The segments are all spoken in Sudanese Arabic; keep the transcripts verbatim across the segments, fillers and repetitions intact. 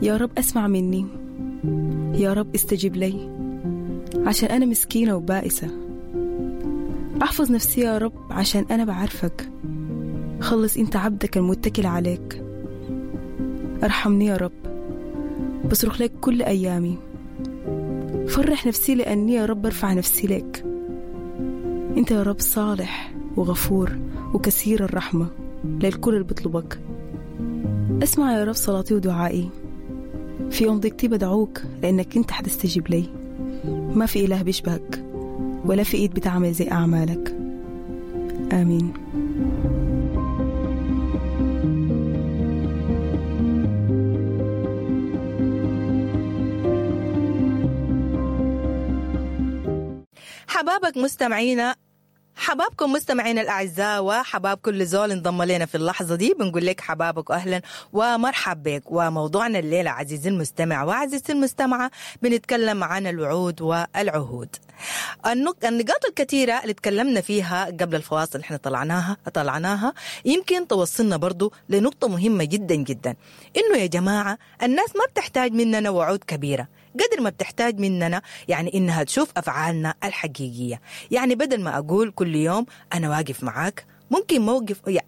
يا رب أسمع مني، يا رب استجب لي، عشان أنا مسكينة وبائسة. أحفظ نفسي يا رب عشان أنا بعرفك. خلص أنت عبدك المتكل عليك. أرحمني يا رب، بصرخ لك كل أيامي. فرح نفسي لأني يا رب أرفع نفسي لك. أنت يا رب صالح وغفور وكثير الرحمة للكل اللي بيطلبك. اسمع يا رب صلاتي ودعائي. في يوم ضيقتي بدعوك لأنك أنت حتستجيب لي. ما في إله بيشبهك ولا في إيد بتعمل زي أعمالك. آمين. حبابك مستمعينا، حبابكم مستمعينا الأعزاء، وحباب كل زول انضم لنا في اللحظة دي. بنقول لك حبابك وأهلا ومرحب بك. وموضوعنا الليلة عزيزي المستمع وعزيزتي المستمعة بنتكلم عن الوعود والعهود. النقاط الكثيرة اللي تكلمنا فيها قبل الفواصل اللي احنا طلعناها طلعناها يمكن توصلنا برضو لنقطة مهمة جدا جدا، إنه يا جماعة الناس ما بتحتاج مننا وعود كبيرة قدر ما بتحتاج مننا يعني إنها تشوف أفعالنا الحقيقية. يعني بدل ما أقول كل يوم أنا واقف معاك، ممكن موقف يعني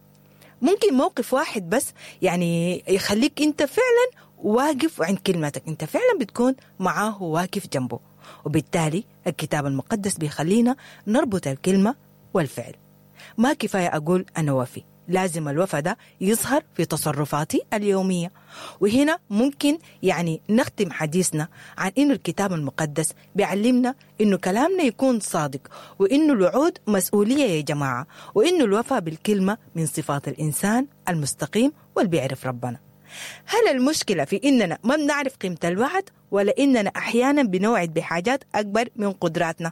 ممكن موقف واحد بس يعني يخليك أنت فعلا واقف عند كلمتك، أنت فعلا بتكون معاه واقف جنبه. وبالتالي الكتاب المقدس بيخلينا نربط الكلمة والفعل. ما كفاية أقول أنا وفي، لازم الوفاء ده يظهر في تصرفاتي اليومية. وهنا ممكن يعني نختم حديثنا عن إنه الكتاب المقدس بيعلمنا إنه كلامنا يكون صادق، وإنه الوعود مسؤولية يا جماعة، وإنه الوفاء بالكلمة من صفات الإنسان المستقيم واللي بيعرف ربنا. هل المشكلة في إننا ما بنعرف قيمة الوعد، ولا إننا أحيانا بنوعد بحاجات أكبر من قدراتنا؟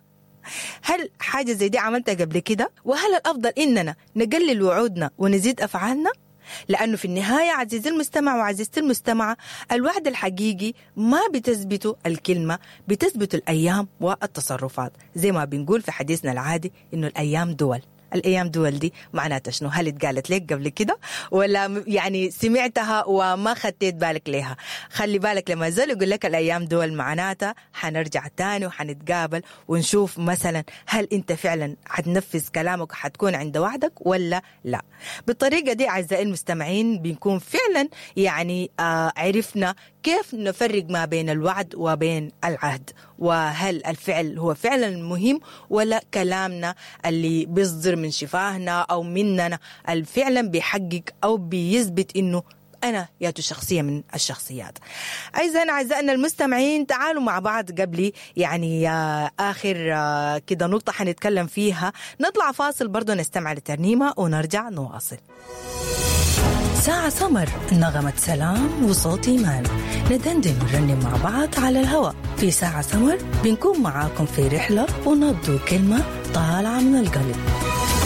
هل حاجة زي دي عملتها قبل كده؟ وهل الأفضل إننا نقلل وعودنا ونزيد أفعالنا؟ لأنه في النهاية عزيزي المستمع وعزيزتي المستمعة، الوعد الحقيقي ما بتثبته الكلمة، بتثبت الأيام والتصرفات. زي ما بنقول في حديثنا العادي إنه الأيام دول. الأيام دول دي معناتها شنو؟ هل اتقالت لك قبل كده ولا يعني سمعتها وما خدت بالك ليها؟ خلي بالك لما زال يقول لك الأيام دول معناتها حنرجع تاني وحنتقابل ونشوف مثلا هل أنت فعلا حتنفذ كلامك وحتكون عند وعدك ولا لا. بالطريقة دي أعزائي المستمعين بنكون فعلا يعني آه عرفنا كيف نفرق ما بين الوعد وبين العهد، وهل الفعل هو فعلا مهم ولا كلامنا اللي بيصدر من شفاهنا أو مننا فعلا بيحقق أو بيثبت إنه أنا ياتو شخصية من الشخصيات. أيضا أعزائنا المستمعين تعالوا مع بعض قبل يعني آخر كده نقطة حنتكلم فيها، نطلع فاصل برضو نستمع لترنيمة ونرجع نواصل. ساعة سمر، نغمة سلام وصوت إيمان، ندندن ونرنم مع بعض على الهواء في ساعة سمر. بنكون معاكم في رحلة ونبدو كلمة طالعة من القلب.